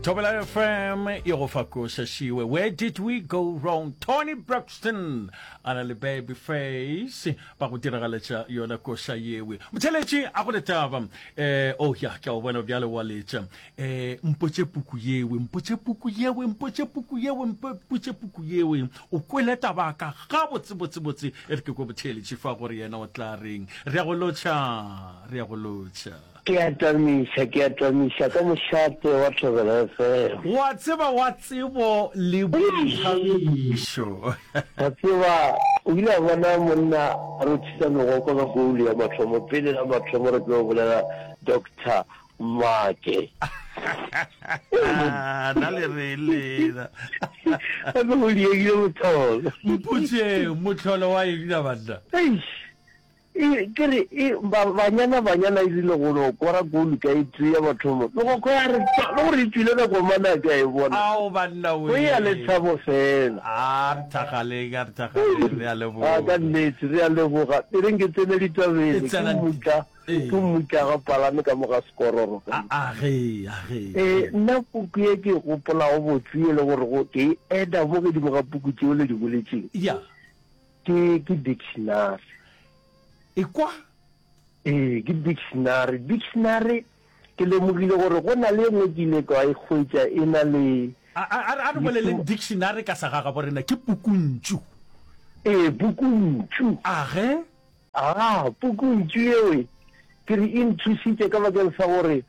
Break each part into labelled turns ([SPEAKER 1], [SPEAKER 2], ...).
[SPEAKER 1] Thobela FM e go fa koša šiwe. Where did we go wrong? Toni Braxton a na le Baby Face ba go diragaletša yona koša yewe. Motheletši a go le taba. Eh oh ya ke a o bona bjale wa letša. Eh mpotše puku yewe, mpotše puku yewe, mpotše puku yewe, mpotše puku yewe. O kwele taba ka ga botse botse botse. E re ke kwe motheletši fa gore yena o tla reng. Re ya go lotšha, re ya go lotšha.
[SPEAKER 2] Ke a tamiša, ke a tamiša ka mošate wa Thobela FM.
[SPEAKER 1] Wa tseba wa tsebo le boithabišo.
[SPEAKER 2] Wa tseba, o ile a bona monna a rothisa megokgo ka goal ya mathomo, pele la mathomo re tlo bolela Doctor Make.
[SPEAKER 1] Na le reng lena?
[SPEAKER 2] Gape go diegile mohlolo.
[SPEAKER 1] Mpotšeng, mohlolo wa eng na banna?
[SPEAKER 2] Eish. E, ke re, e, ba, Banyana Banyana e rile go no kora goal ka e tee ya mathomo, megokgo ya re twa, le gore e tšwile nako mang a ke a e bona.
[SPEAKER 1] Ao banna
[SPEAKER 2] Go ya
[SPEAKER 1] wee.
[SPEAKER 2] lethabo fela.
[SPEAKER 1] A re thagaleng, a re thagaleng, re a
[SPEAKER 2] A, ka
[SPEAKER 1] leboga.
[SPEAKER 2] nnete, re a leboga. E reng ke tsene
[SPEAKER 1] E
[SPEAKER 2] ditabeng, ke
[SPEAKER 1] tsena
[SPEAKER 2] mmutla,
[SPEAKER 1] Ee.
[SPEAKER 2] ke mmutla ga palame ka mo ga sekororo ka
[SPEAKER 1] A,
[SPEAKER 2] mo.
[SPEAKER 1] a ge, a ge, a
[SPEAKER 2] Ee,
[SPEAKER 1] ge.
[SPEAKER 2] nna puku ye ke e gopolago botse e le gore go, ke e eda mo godimo ga puku tšeo le di boletšeng.
[SPEAKER 1] Ya.
[SPEAKER 2] Ke, ke dictionary.
[SPEAKER 1] Ekwa.
[SPEAKER 2] Ee, ke dictionary. Dictionary, ke lemogile gore go na le e nngwe ke ile ka e hwetša e na le.
[SPEAKER 1] A, a, a re boleleng dictionary ka segagabo rena, ke pukuntšu.
[SPEAKER 2] Ee, pukuntšu.
[SPEAKER 1] A ge?
[SPEAKER 2] A, pukuntšu yeo, ke re e nthušitše ka bakeng sa gore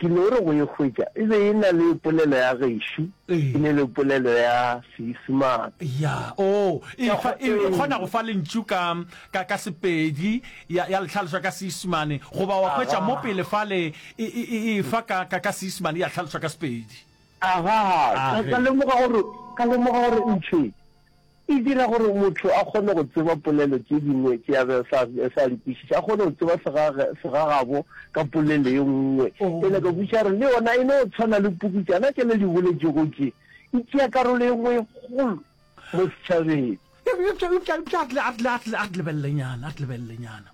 [SPEAKER 2] Ke no re go e hwetša, e be e na le polelo ya gešo, e ne le polelo ya Seisemane.
[SPEAKER 1] Ya, oo, e fa, e, e kgona go fa lentšu ka, ka, ka Sepedi, ya, ya le hlaloša ka Seisemane, goba wa hwetša mo pele fale e, e, e e fa ka, ka, ka Seisemane, ya hlalošwa ka Sepedi.
[SPEAKER 2] Aga, ka, ka lemoga gore, ka lemoga gore ntho e, E dira gore motho a kgone go tseba polelo tše dingwe tše a be sa sa di kwešiša, a kgone go tseba segage segagabo ka polelo ye nngwe. Ene ka kwešiša gore le yona e no tshwana le puku tšana tše le di boletšego tše, e tšea karolo ye nngwe e kgolo mo setšhabeng.
[SPEAKER 1] Eupša, eupša, eupša a re, a re, a re, a re lebelelenyana, a re lebelelenyana.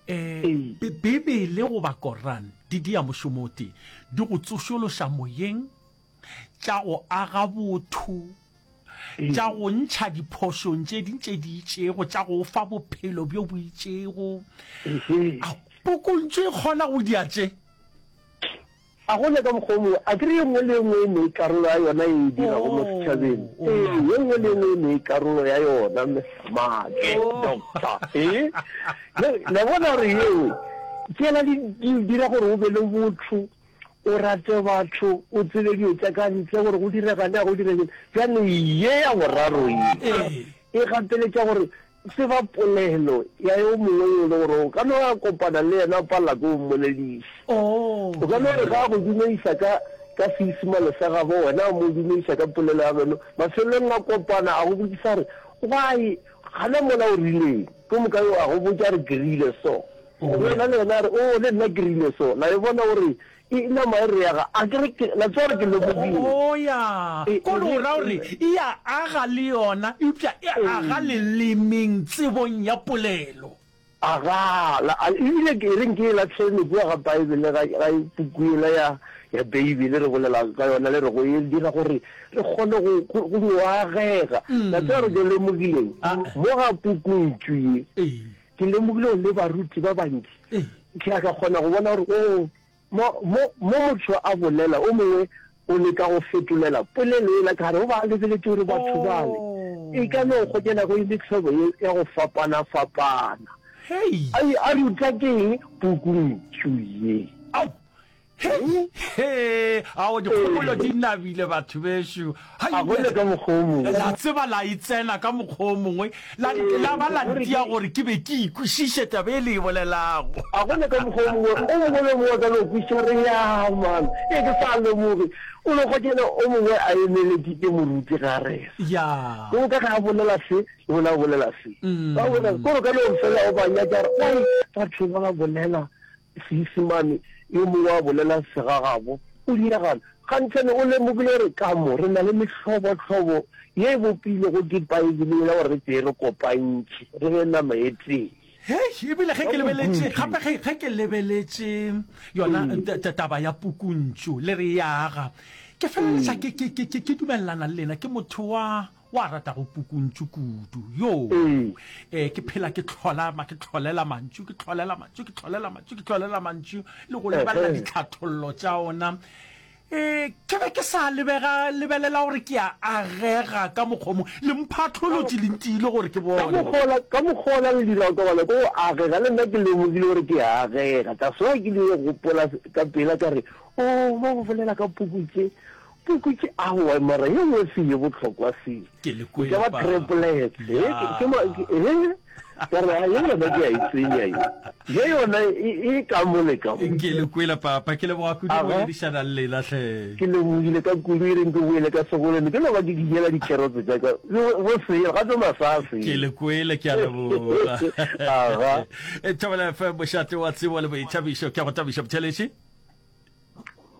[SPEAKER 1] Eh, Bibele goba Koran di dia mošomo o tee, di go tsošološa moyeng, tša go aga botho, tša go ntšha diphošong tše ding tše di itšego, tša go fa bophelo bjo bo itšego. A pukuntšu e kgona go dia tše?
[SPEAKER 2] A go ne ka mokgwa o mongwe, a ke re ye nngwe le ye nngwe e ne karolo ya yona ye e dirago mo setšhabeng. Ee, ye nngwe le ye nngwe e ne karolo ya yona, Mister Make, Doctor. Ee, la bona gore yeo tšela di dira gore o be le botho. o rate batho, o tsebe dilo tša ka ntle gore go direga na go direge. Bjale ye ya boraro ye e gapeletša gore tseba polelo ya yo mongwe yo e le gore o ka no ya kopana le yena o palela ke go mmolediša. O ka no re ga a go dumediša ka ka Seisemane sa gabo wena o mo dumediša ka polelo ya geno, mafelelong a kopana a go botšiša gore why gana mola o rileng, ke moka yo a go botša re ke rile so. Yena le yena a re, Oo, le nna ke rile so. La e bona gore e nama e re ya ga, a ke re ke, la tseba gore ke lemogile.
[SPEAKER 1] Oo, ya.
[SPEAKER 2] E,
[SPEAKER 1] Ko re o ra gore e ya aga le yona, eupša e aga lelemeng, tsebong ya polelo.
[SPEAKER 2] Aga, la, a, ebile ke, e reng ke e lahlele kua ga Bible, ga, ga puku yela ya, ya Beibele re bolelago ka yona, le re go e dira gore re kgone go, go, go no agega. La tseba gore ke lemogileng? Mo ga pukuntšu ye,
[SPEAKER 1] Ee.
[SPEAKER 2] Ke lemogile gore le baruti ba bantši, ke a ka kgona go bona gore, oo, mo, mo, mo motho a bolela, o mongwe o leka go fetolela polelo yela ka gare, o ba a lebeletše gore batho bale e ka no kgokela go e mehlobo ye ya go fapana-fapana.
[SPEAKER 1] Hei!
[SPEAKER 2] A, a ruta ke eng? Pukuntšu ye.
[SPEAKER 1] Ao! Hei! Hee! Ao, dikgopolo di nabile, batho bešo. Hai,
[SPEAKER 2] A go le ka mokgwa o mongwe.
[SPEAKER 1] La tseba la e tsena ka mokgwa o mongwe, la, la ba la ntia gore ke be ke ikwešiše taba e le e bolelago.
[SPEAKER 2] A go le ka mokgwa o mongwe, o mongwe le o mongwe a ka no kwešiša gore, Ya, man, ee, ke sa lemoge. O no hwetša o mongwe a emeletše moruti ga rena.
[SPEAKER 1] Ya.
[SPEAKER 2] Ke moka ge a bolela se, le bona a bolela se. Ba bolela, kore o ka no fela o ba nyatša gore, Wai, batho ba ba bolela Seisemane, yo mongwe a bolela segagabo, o diragala. Gantšane o lemogile gore ka mo re na le mehlobohlobo ye e bopilwego ke Paebele yela gore re tee re kopantšhe, re be nama e tee.
[SPEAKER 1] Hei, ebile ge ke lebeletše, gape ge, ge ke lebeletše yona taba ya pukuntšu, le re e aga. Ke feleletša ke, ke, ke, ke, ke dumelelana le lena, ke motho wa, wa ratago pukuntšu kudu. Yoo. Eh, ke phela ke hlola, ma, ke hlolela mantšu, ke hlolela mantšu, ke hlolela mantšu, ke hlolela mantšu, le go lebelela ditlhathollo tša ona. Eh, ke be ke sa lebega, lebelela gore ke a agega ka mokgwa mo. Le mphatholotše, le ntiile gore ke
[SPEAKER 2] Ka
[SPEAKER 1] bone.
[SPEAKER 2] mokgwa wola, ka mokgwa wola le dirago ka gona, ke go agega. Le nna ke lemogile gore ke a agega. That's why ke ile gopola ka pela ka re, Oh, ba go bolela ka puku tše. Puku tše, aowa, mara ye nngwe se ye bohlokwa se.
[SPEAKER 1] Ke le
[SPEAKER 2] E ka
[SPEAKER 1] kwele,
[SPEAKER 2] ba
[SPEAKER 1] papa.
[SPEAKER 2] triplets. He, ke, ke ma, ke, he, ka re, a ye yona ke a e tsenya ye. Ye yona e, e ka mo le ka mo.
[SPEAKER 1] Ke le kwele, papa. Ke leboga kudu go
[SPEAKER 2] Aga.
[SPEAKER 1] boledišana le lena, hle.
[SPEAKER 2] Ke lebogile ka kudu, e reng ke boele ka sekolong, ke no ba ke dijela dikherotse tša ka. Bo, bo sele, gape masa a sele.
[SPEAKER 1] Ke le kwele, ke a leboga.
[SPEAKER 2] Aga.
[SPEAKER 1] Thobela FM, mošate wa tsebo le boithabišo. Ke a go tabiša, Botšheletše.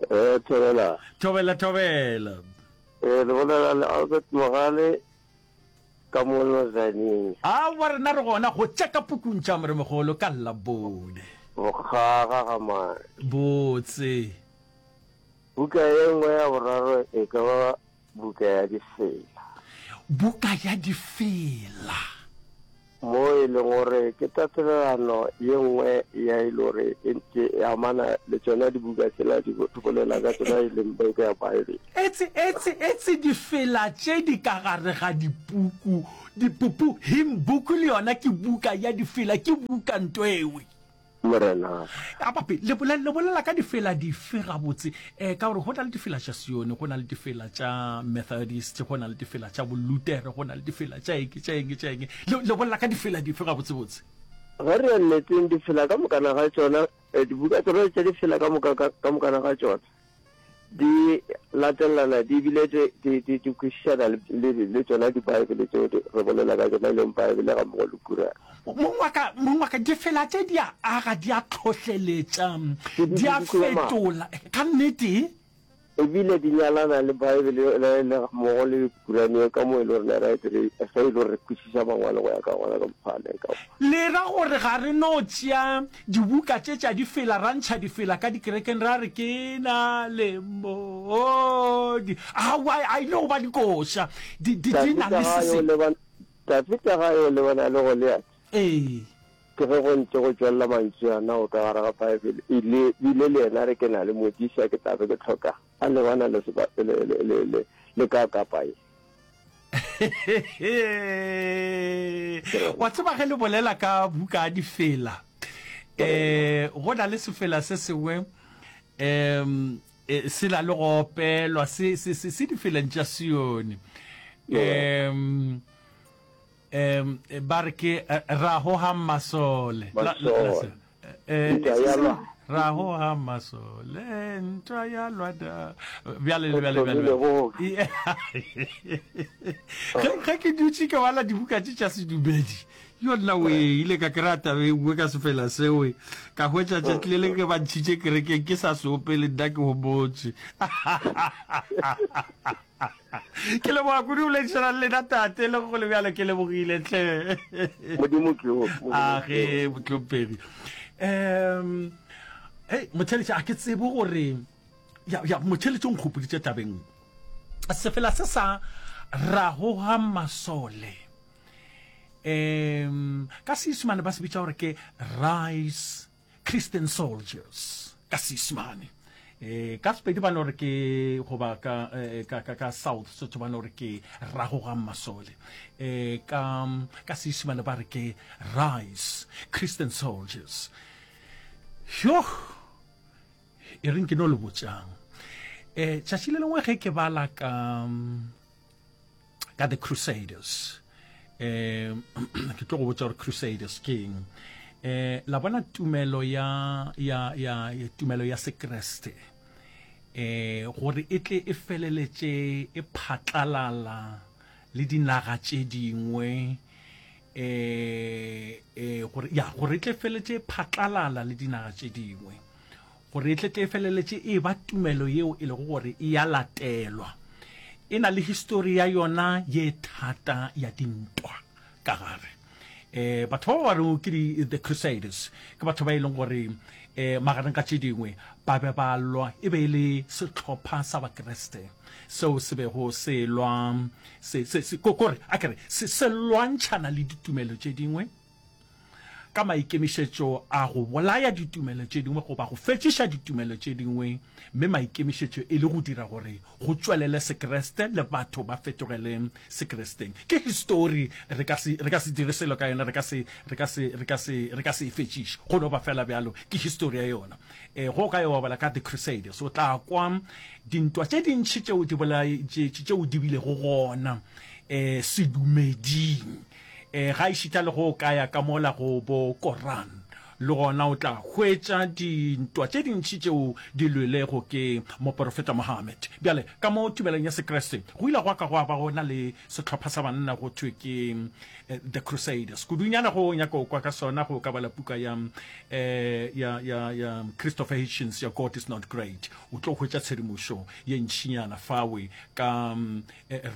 [SPEAKER 2] Eh, thobela.
[SPEAKER 1] Thobela, thobela.
[SPEAKER 2] Eh, le bolela le Albert Mogale ka mo Lozaneng.
[SPEAKER 1] Aowa rena re gona go tša ka pukung tša Moremogolo ka Labone.
[SPEAKER 2] Bokgaga ga mane.
[SPEAKER 1] Botse.
[SPEAKER 2] Buka ye nngwe ya boraro e ka ba buka ya difela.
[SPEAKER 1] Buka ya difela.
[SPEAKER 2] Mo e leng gore ke tatelelano ye nngwe ya e le gore e ntše e amana le tšona dibuka tšela di bolela ka tšona e leng buka ya Bible.
[SPEAKER 1] Etse, etse, etse difela tše di ka gare ga dipuku, dipupu, hymn book le yona ke buka ya difela, ke buka ntwewe.
[SPEAKER 2] Morena.
[SPEAKER 1] A papi, le bolela, le bolela ka difela dife gabotse? Eh, ka gore go na le difela tša Sione, go na le difela tša Methodist, go na le difela tša Bolutere, go na le difela tša eng, tša eng, tša eng. Le, le bolela ka difela dife gabotsebotse?
[SPEAKER 2] Ge re ya nneteng, difela ka mokana ga tšona, eh, dibuka tsona tša difela ka moka, ka, ka mokana ga tšona, di latelelana di bile di, di, di, di kwešišana le, le, le tšona Dibaebele tšeo di, re bolela ka tšona, e leng Baebele ga mmogo le Kurane.
[SPEAKER 1] Mong wa ka, mong wa ka, difela tše di a aga, di a tlhohleletša,
[SPEAKER 2] Di, di,
[SPEAKER 1] di a
[SPEAKER 2] di kua maatla.
[SPEAKER 1] fetola. Ka nnete.
[SPEAKER 2] E bile di nyalana le Baebele le, le ga mmogo le Kurane ye ka mo e le gore ne ra e dire, ge e le gore re kwešiša Mangwalo go ya ka gona ka mokgwa a leng ka gona.
[SPEAKER 1] Le ra gore ga re no tšea dibuka tše tša difela ra ntšha difela ka dikerekeng ra re ke na le modi? Aowa, a ile go ba dikoša. Di, di, di na
[SPEAKER 2] Dafita
[SPEAKER 1] le
[SPEAKER 2] ga
[SPEAKER 1] se
[SPEAKER 2] a yo
[SPEAKER 1] sengwe.
[SPEAKER 2] lebana, Dafita ga a yo lebana le Goliate.
[SPEAKER 1] Ee.
[SPEAKER 2] Ke ge go ntše go tšwelela mantšu ana go ka gare ga Bible, e le, bile le yena a re ke na le modiša, ke tla be ke hloka a lebana le seba, le, le, le, le, le ka kapa ye.
[SPEAKER 1] Wa tseba ge le bolela ka buka ya difela, um go na le sefela se sengwe um se na le go opelwa se, se, se, se difeleng tša Sione. Um um ba re ke Rahohang Masole.
[SPEAKER 2] Masole. Ntwa ya lwa.
[SPEAKER 1] Rahohang Masole, ntwa ya lwa da. Bjale le bjale bjale. Ge ge ke dutše ke bala dibuka tše tša sedumedi, yo nna we ile ka kry-a taba e nngwe ka sefela seo, ka hwetša tšatši le leng ge ba ntšhitše kerekeng ke sa se opele nna ke homotše. Ke leboga kudu go boledišana le lena tate, le go le bjalo ke lebogile hle.
[SPEAKER 2] Modimo ke wo.
[SPEAKER 1] A ge mohlomphegi. Um hei motheletši a ke tsebe gore ya ya motheletši o nkgopoditše tabeng sefela se sa ragoga masole um ka seisemane ba se bitša gore ke rise Christian Soldiers ka Seisemane. E, ka Sepedi ba no re ke goba ka, eh, ka, ka, ka South Sotho ba no re ke Ragogang Masole. E, ka, ka Seisemane ba re ke Rise Christian Soldiers. Yo, e reng ke no le botšang. E, tšatši le lengwe ge ke bala ka ka the crusaders um ke tlo go botša gore crusaders ke eng eh la bona tumelo ya ya ya tumelo ya sekreste eh gore e tle e feleletše e phatlalala le dinaga tše dingwe eh eh gore ya gore e tle feletše e phatlalala le dinaga tše dingwe Gore e tle tle e feleletše e eba tumelo yeo e lego gore e ya latelwa. E na le histori ya yona ye thata ya dintwa ka gare. E, batho ba ba rego ke di, the Crusaders, ke batho ba e leng gore Um magareng ga tše dingwe, ba be ba lwa, e be e le sehlopha sa Bakriste seo se bego se lwa, se, se, se, ko, kore, a ke re, se, se lwantšhana le ditumelo tše dingwe ka maikemišetšo a go bolaya ditumelo tše dingwe goba go fetšiša ditumelo tše dingwe, mme maikemišetšo e le go dira gore go tšwelele Sekriste le batho ba fetogele Sekristeng. Ke histori, re ka se, re ka se dire selo ka yona, re ka se, re ka se, re ka se, re ka se e fetšiše. Go no ba fela bjalo, ke histori ya yona. E, ge o ka yo bala ka The Crusaders, o tla kwa dintwa tše dintši tšeo di bolai, tše, tšeo di bilego gona, e, sedumeding. E, gaešita le ge o ka ya ka mola go bo Koran, le gona o tla hwetša dintwa tše dintši tšeo di lwelego ke moporofeta Muhammad. Bjale, ka mo tumelong ya Sekriste, go ile gwa ka gwa ba go na le sehlopha sa banna go thwe ke The Crusaders. Kudunyana go nyaka go kwa ka sona, go ka bala puka ya, ya, ya, ya Christopher Hitchens ya God is Not Great. O tlo hwetša tshedimošo ye ntšinyana fawe ka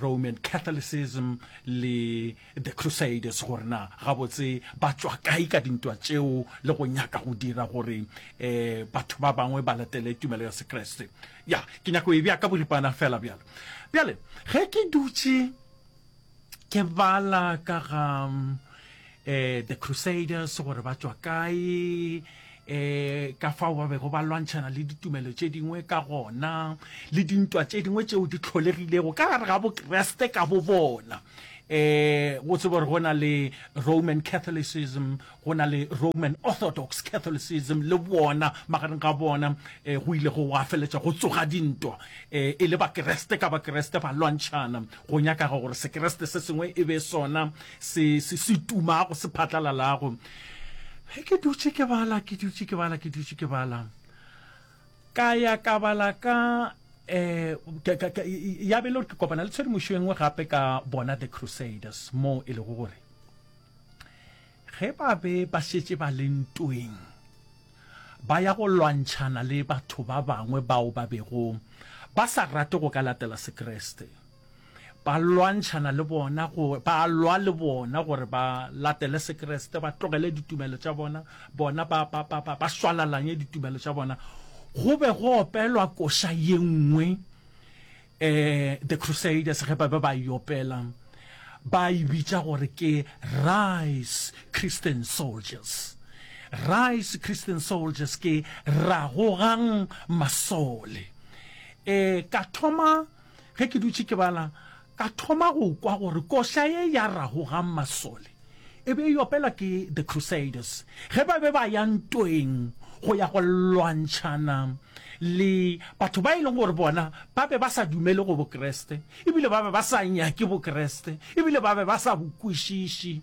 [SPEAKER 1] Roman Catholicism le The Crusaders, gore na gabotse ba tšwa kae ka dintwa tšeo le go nyaka go dira gore um batho ba bangwe ba latele tumelo ya Sekriste. Ya, ke nyaka go e bea ka boripana fela bjalo. Bjale, ge ke dutše ke bala ka ga um The Crusaders, gore ba tšwa kae, um ka fao ba bego ba lwantšhana le ditumelo tše dingwe ka gona, le dintwa tše dingwe tšeo di tlholegilego ka gare ga Bokreste ka bo bona. Um o tsebe gore go na le Roman Catholicism, go na le Roman Orthodox Catholicism, le bona magareng ga bona um go ile go wa feletša go tsoga dintwa, um e le Bakreste ka Bakreste ba lwantšhana, go nyakaga gore Sekreste se sengwe e be sona se se se tumago, se phatlalalago. Ge ke dutše ke bala, ke dutše ke bala, ke dutše ke bala, ka ya ka bala ka eh, ya be le gore ke kopana le tshedimošo e nngwe gape ka bona The Crusaders, moo e lego gore ge ba be ba šetše ba le ntweng ba ya go lwantšhana le batho ba bangwe bao ba bego ba sa rate go ka latela Sekriste. Ba lwantšhana le bona, go, ba lwa le bona gore ba latele Sekriste, ba tlogele ditumelo tša bona, bona ba, ba, ba, ba, ba šwalalanye ditumelo tša bona. Go be go opelwa koša ye nngwe, eh, The Crusaders ge ba be ba e opela, ba e bitša gore ke Rise Christian Soldiers. Rise Christian Soldiers ke Ragogang Masole. Eh, ka thoma Ge ke dutše ke bala, ka thoma go kwa gore koša ye ya Ragogang Masole e be e opelwa ke The Crusaders ge ba be ba ya ntweng go ya go lwantšhana le batho ba e leng gore bona ba be ba sa dumele go Bokriste ebile ba be ba sa nyake Bokriste ebile ba be ba sa bo kwešiše.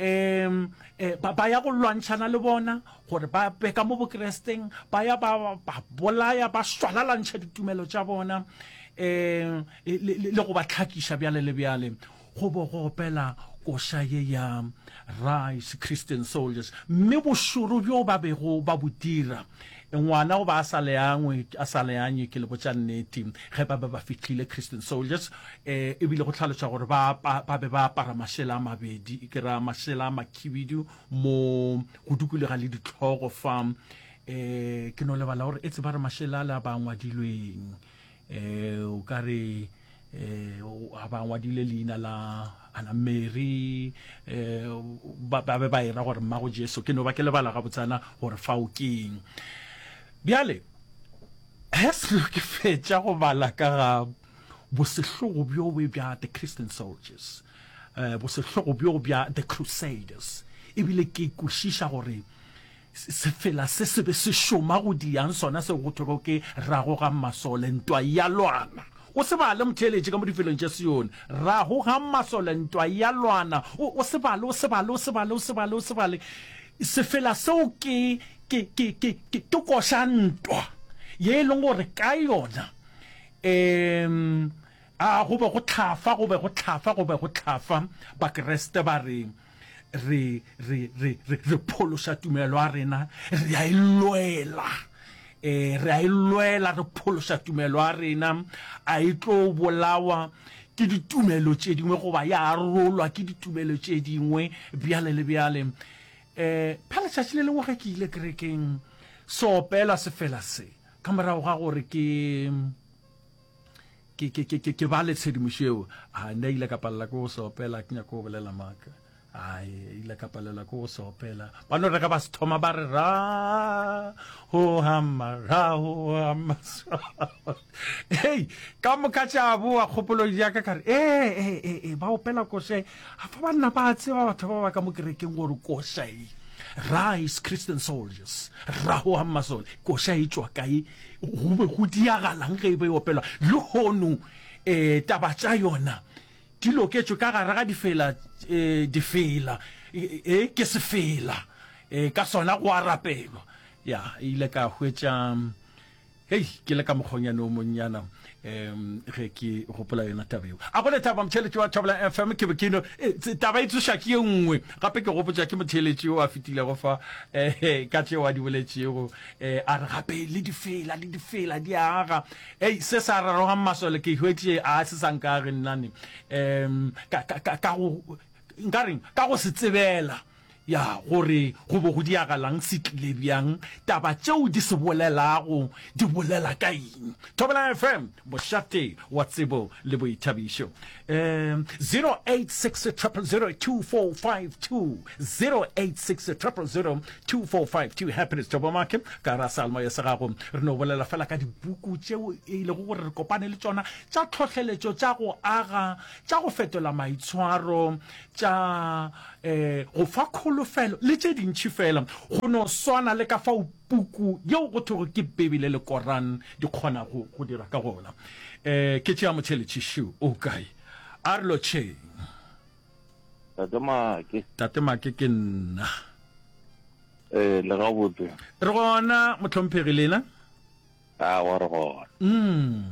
[SPEAKER 1] Um ba, ba ya go lwantšhana le bona gore ba be ka mo Bokristeng, ba ya ba ba bolaya, ba šwalalantšha ditumelo tša bona, um le, le, le go ba tlhakiša bjale le bjale. Go bo go opela koša ye ya Rise Christian Soldiers. Mme bošoro bjo ba bego ba bo dira, ngwana o ba a sa leangwe, a sa leanye, ke le botša nnete, ge ba be ba fihlile Christian Soldiers, um ebile go hlaloša gore ba, ba, ba be ba apara mašela a mabedi, ke ra mašela a makhibidu mo go dukologa le dihlogo fa um ke no lebala gore e tseba re mašela a le a ba ngwadilweng um o ka re um a ba ngwadile leina la ana Mary um ba be ba era gore mmago Jesu ke no ba ke lebala gabotsana gore fao keng bjale ge selo ke fetša go bala ka ga Bosehlogo bjo bo bja The Christian Soldiers, bosehlogo bjo bja The Crusaders, ebile ke kwešiša gore sefela se se be se šoma go diang sona seo go thwego ke Ragogang Masole, Ntwa ya Lwana. O se bale motheeletši ka mo difelong tša Sione. Ragogang Masole, Ntwa ya Lwana. O, o se bale, o se bale, o se bale, o se bale, o se bale. Sefela seo ke, ke, ke, ke, ke, ke koša ntwa ye e leng gore ka yona Um, a go be go hlafa, go be go hlafa, go be go hlafa. Bakriste ba re, re, re, re, re, re phološa tumelo ya rena, re a e lwela. E, re a e lwela, re phološa tumelo ya rena. A e tlo bolawa ke ditumelo tše dingwe goba ya arolwa ke ditumelo tše dingwe, bjale le bjale. E, pha letšatši le lengwe ge ke ile kerekeng, se opela sefela se ka morago ga gore ke ke ke ke ke ke bale tshedimošo eo, a nna ile ka palela ke go se opela, ke nyako go bolela maaka. Ai, ile ka palela ke go se opela. Ba no re ge ba se thoma ba re ra ho hama ra ho hama. Hei, ka moka tša boa kgopolong ya ka ka re ee ee ee ee ba opela koša e. A fa banna ba tseba batho ba ba ka mo kerekeng gore koša e Rise Christian Soldiers, Raho Hammasole, koša e tšwa kae? Go be go diagalang ge e be e opelwa? Lehono um taba tša yona di loketšwe ka gare ga difela, um difela, e ke sefela, um ka sona go a rapelwa. Ya, e ile ka hwetša Hei, ke le ka mokgonyane o monnyana um ge ke gopola yona taba eo. A go lethaba motheeletši wa Thobela FM, ke be ke no e, taba e tsoša ke ye nngwe gape ke gopotša ke motheeletši o a fetilego fa um ka tšeo a di boletšego um a re gape le difela le difela di aga. Ei, se sa rarogang masole ke hwetše a se sa nkage nnane um ka, ka, ka, ka go nka reng ka go se tsebela Ya gore go be go diagalang, se tlile bjang, taba tšeo di se bolelago di bolela ka eng. Thobela FM, mošate wa tsebo le boithabišo. Um 086 000 2452, 086 000 2452. Happiness Thobo Make, ka ra seyalemoya sa gago. Re no bolela fela ka dipuku tšeo e lego gore re kopane le tšona tša tlhohleletšo, tša go aga, tša go fetola maitshwaro, tša um go fa kholofelo le tše dintši fela, go no swana le ka fao puku yeo go thwego ke Bibele le Koran di kgonago go dira ka gona. Um ke tšea motšheletši šo o kae? A re lotšheng.
[SPEAKER 3] Tate Make.
[SPEAKER 1] Tate Make ke nna.
[SPEAKER 3] Ee, le gabotse.
[SPEAKER 1] Re gona, mohlomphegi, lena?
[SPEAKER 3] Aowa, re gona.
[SPEAKER 1] Mm.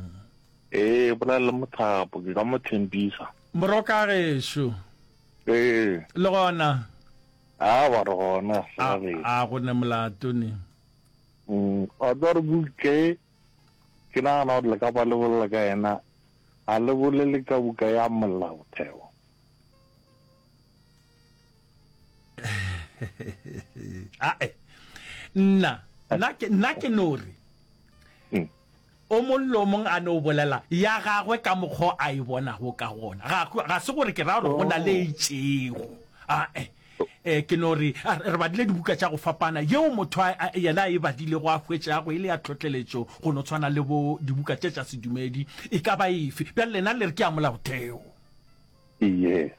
[SPEAKER 3] Ee, bolela le Mothapo, ke ka mo thempisa.
[SPEAKER 1] Moroka gešo.
[SPEAKER 3] Ee.
[SPEAKER 1] Le gona?
[SPEAKER 3] Aowa, re gona,
[SPEAKER 1] A, a go ne molato ne.
[SPEAKER 3] Mm, wa tseba gore buka e, ke nagana gore le ka ba le bolela ka yena, ga le bolele ka buka ya Molaotheo.
[SPEAKER 1] Ae, nna, nna ke, nna ke no re,
[SPEAKER 3] Mm.
[SPEAKER 1] O mong le o mong a no bolela ya gagwe ka mokgwa o a e bonago ka gona. Ga, ga se gore ke ra gore go na le e itšego. Ae. E, ke no re, re badile dibuka tša go fapana, yeo motho a, a, yena a e badilego a hwetšago e le ya tlhohleletšo go no tshwana le bo dibuka tše tša sedumedi, e ka ba efe. Bjale lena le re ke ya molaotheo.
[SPEAKER 3] Yes.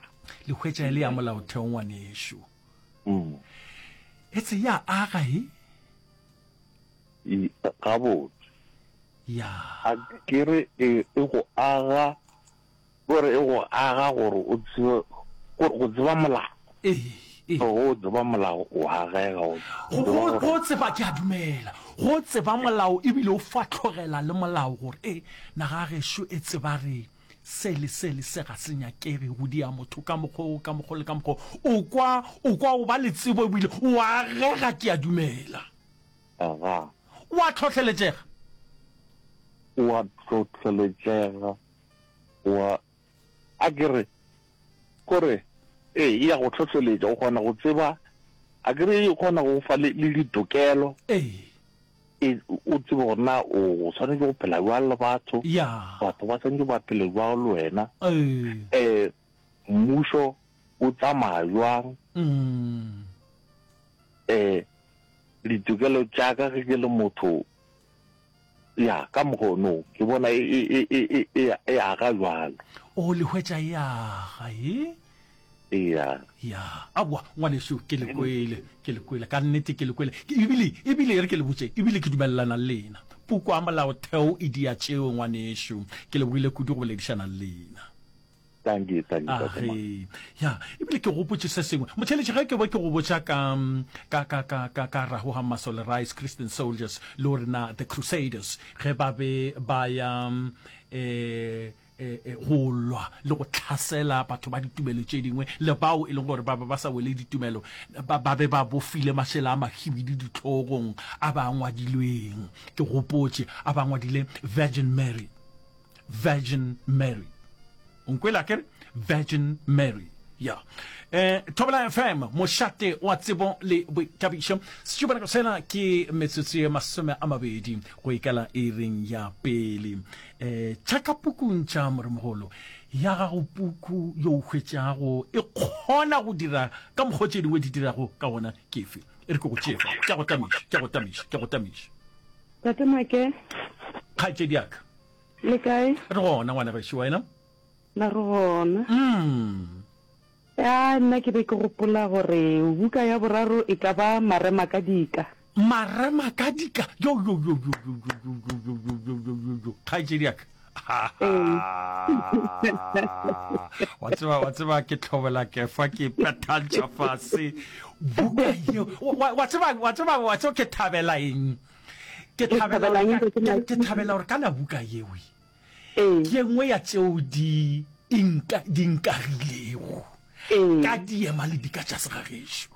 [SPEAKER 1] Le hwetša e le ya molaotheo, ngwanešu.
[SPEAKER 3] Mm.
[SPEAKER 1] Etse ya aga e?
[SPEAKER 3] Gabotse.
[SPEAKER 1] Ya.
[SPEAKER 3] A ke re e, e go aga, gore e go aga gore o tsebe, gore go tseba molao.
[SPEAKER 1] Ee, ee.
[SPEAKER 3] Go tseba molao o agega,
[SPEAKER 1] go Go,
[SPEAKER 3] tseba
[SPEAKER 1] go,
[SPEAKER 3] gore.
[SPEAKER 1] go tseba, ke a dumela, go tseba molao ebile o fahlogela le molao gore, e, naga gešo e tseba re se le se le se ga se nyakege go dia motho ka mokgwa o, ka mokgwa le ka mokgwa o. O kwa, o kwa o ba le tsebo ebile o agega, ke a dumela.
[SPEAKER 3] Aga.
[SPEAKER 1] O a tlhohleletšega.
[SPEAKER 3] O a tlhohleletšega. O a, a ke re, kore, ee, e ya go tlhohleletša, o kgona go tseba, a ke re e kgona go fa le, le ditokelo.
[SPEAKER 1] Ee.
[SPEAKER 3] E, o tsebe gore na o swanetše go phela bjang le batho.
[SPEAKER 1] Ya.
[SPEAKER 3] Batho ba swanetše ba phele bjang le wena.
[SPEAKER 1] Ee.
[SPEAKER 3] Eh, mmušo o tsamaya bjang.
[SPEAKER 1] Mm.
[SPEAKER 3] Eh, ditokelo tša ka ge ke le motho, ya, ka mokgwa ono, ke bona e, e, e, e, e, e, e aga bjalo.
[SPEAKER 1] O, le hwetša e aga, e?
[SPEAKER 3] Eya.
[SPEAKER 1] Ya, aowa, ngwanešu, ke le kwele, ke le kwele, ka nnete ke le kwele. Ke, ebile, ebile e re ke le botše, ebile ke dumelelana le lena. Puku ya molaotheo e dia tšeo, ngwanešu. Ke lebogile kudu go boledišana le lena.
[SPEAKER 3] Thank you, thank you, Tate Ma.
[SPEAKER 1] Age. Ya, ebile ke gopotše se sengwe. Motheeletši, ge ke be ke go botša ka, ka, ka, ka, ka, ka Rahoham Masole Rice, Christian Soldiers, le gore na The Crusaders, ge ba be ba ya, eh, eh, eh, go lwa le go tlhasela batho ba ditumelo tše dingwe, le bao e leng gore ba be ba sa wele ditumelo, ba, ba be ba bofile mašela a mahibidu dihlogong a ba ngwadilweng. Ke gopotše, a ba ngwadile Virgin Mary. Virgin Mary. O nkwele akere? Virgin Mary. Ya. Eh, Thobela FM, mošate wa tsebo le boithabišo. Setšupanako sela ke metsotso ye 20 go ikala iring ya pele. Eh, tšhaka pukung tša moremogolo ya gago puku yo o hwetšago e kgona go dira ka mokgwa tše dingwe di dirago ka gona ke efe? E re ke go tšee fa. Ke a go tamiša, ke a go tamiša, ke a go tamiša.
[SPEAKER 4] Tate Make.
[SPEAKER 1] Kgaetšedi ya ka.
[SPEAKER 4] Le kae?
[SPEAKER 1] Re gona ngwana gešo, wena?
[SPEAKER 4] Na re gona.
[SPEAKER 1] Mm.
[SPEAKER 4] Ya, nna ke be ke gopola gore buka ya boraro e ka ba Marema ka Dika.
[SPEAKER 1] Marema ka Dika? Jo, jo, jo, jo, jo, jo, jo, jo, jo, jo, jo, jo, jo, jo. Kgaetšedi ya ka. Wa tseba, wa tseba ke tlhobela kefa ke pethantšha fase. Buka yeo. Wa, wa tseba, wa tseba, wa tseba ke thabela eng? Ke thabela gore ka, ke thabela gore kana buka yeo.
[SPEAKER 4] Ee.
[SPEAKER 1] Ke ye nngwe ya tšeo di inka, di nkagilego
[SPEAKER 4] Ee.
[SPEAKER 1] ka diema le dika tša segagešo.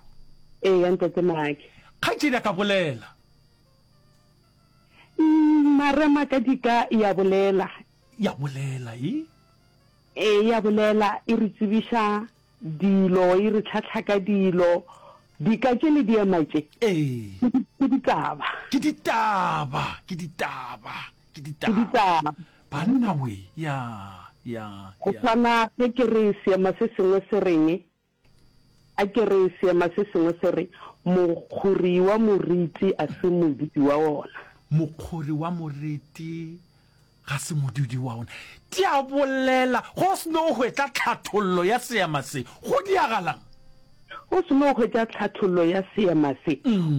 [SPEAKER 4] Ee, ya Ntate Make.
[SPEAKER 1] Kgaetšedi a ka bolela.
[SPEAKER 4] Mm, Marema ka dika ya bolela.
[SPEAKER 1] Ya bolela, e?
[SPEAKER 4] Ee, ya bolela, e re tsebiša dilo, e re tlhahla ka dilo. Dika tše le diema tše.
[SPEAKER 1] Ee.
[SPEAKER 4] Ke ditaba.
[SPEAKER 1] Ke ditaba, ke ditaba. Ke
[SPEAKER 4] Ke
[SPEAKER 1] ditaba.
[SPEAKER 4] ditaba.
[SPEAKER 1] Banna we, ya, ya,
[SPEAKER 4] Go
[SPEAKER 1] ya.
[SPEAKER 4] swana ge ke re seema se sengwe se reng, a ke re seema se sengwe se re, Mokgori wa moriti a se modudi wa wona.
[SPEAKER 1] Mokgori wa moriti ga se modudi wa wona. Di a bolela, go se no hwetša tlhathollo ya seema se, go diagalang?
[SPEAKER 4] Go se no hwetša tlhathollo ya seema se, o.